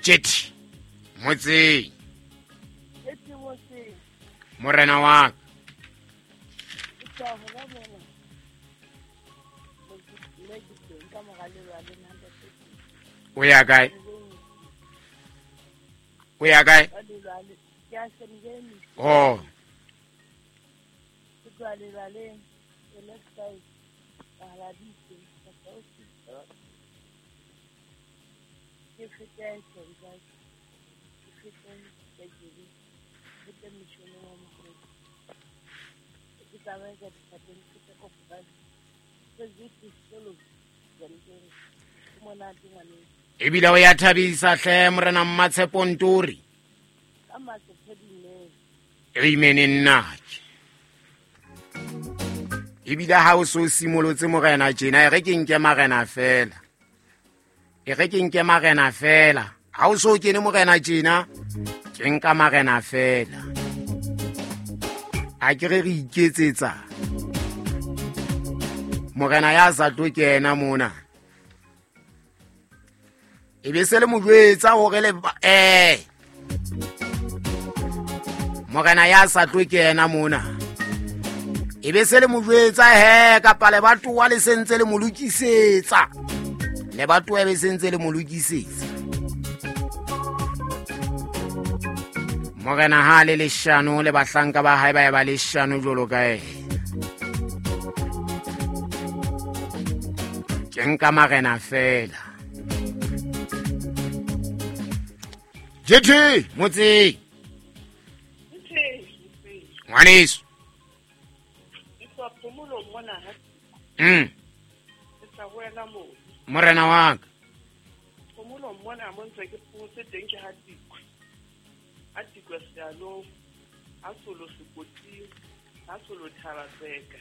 Jetty motseng. Morena wa ka. O ya kae? O ya kae? Oh. Ebile o ya thabisa hle morena Mmatshepo Ntori. Amen nnake. Ebile ha o so simolotse morena tjena, e re ke nke marena fela. E re ke nke marena fela. Ha o so kene morena tjena, ke nka marena fela. A ke re re iketsetsa. Morena ya sa tlo kena mona. E be se le mo jwetsa hore le morena ya sa tlo kena mona. E be se le mo jwetsa he kapa le batoa le sentse le mo lokisetsa. Le batoa be sentse le mo lokisetsa. Morena ha le leshano le bahlanka ba hae ba e ba leshano jwalo ka ena. Ke nka marena fela. JT motseng. Ngwaneso. Morena wa ka. Phomolong mona mo ntse ke phomotse teng ke ha Tikwe. Ha Tikwe sealong, ha solo sekoting, ha solo Thabatseka,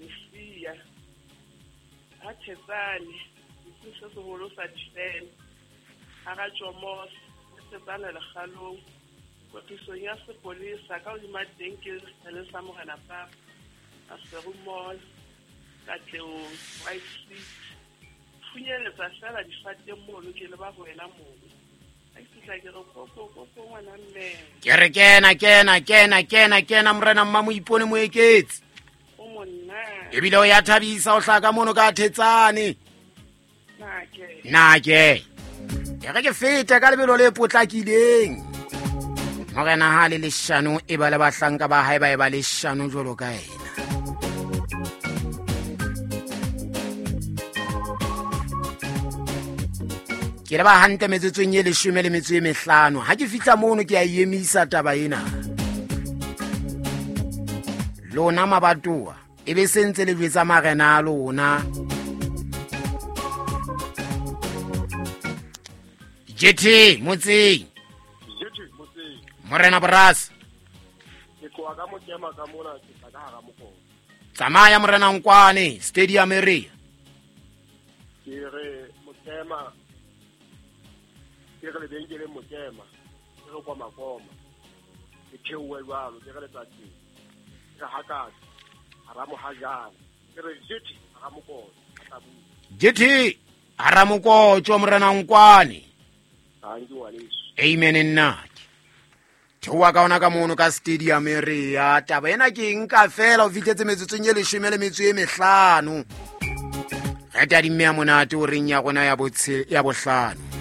Mesia, ha Thetsane, setsing se seholo sa difeme, ha Ratjomose, ha Thetsane lekgalong, kwetlisong ya sepolesa ka hodima teng ke sethaleng sa Morena Papa, Maseru Mall, Katlehong, White City. Phunyeletsa fela difateng mono ke leba ho wena mono. Ha ke fihla ke re koko koko ngwana mme. Ke re kena kena kena kena kena morena mma Moipone Moeketsi. O monna. Ebile o ya thabisa o hlaka mono ka Thetsane. Nake. Nake. E re ke fete ka lebelo le potlakileng. Morena ha le leshano e ba le bahlanka ba hae ba e ba leshano jwalo ka ena. Ke le ba hantle metsotsong e 15. Ha ke fihla mono ke a emisa taba ena. Lona mabatoa e be sentse le jwetsa marena a lona. JT motseng. JT motseng. Morena Borasa. Ke tloha ka mokema ka mona ke tla ka hara mokolo. Tsamaya morena Nkwane stadium area. Ke re mokema ke re lebenkeleng mokema ke re kwa Makoma ke theohe jwalo ke re letsatsing ke re hakatsa hara mohajana ke re JT hara mokolo JT hara mokotjo morena Nkwane. Amen nnake. Theoha ka ona ka mono ka stadium area. Taba ena ke nka fela o fihletse metsotsong e 15. Re tadimme ya monate o reng ya rona ya bohlano.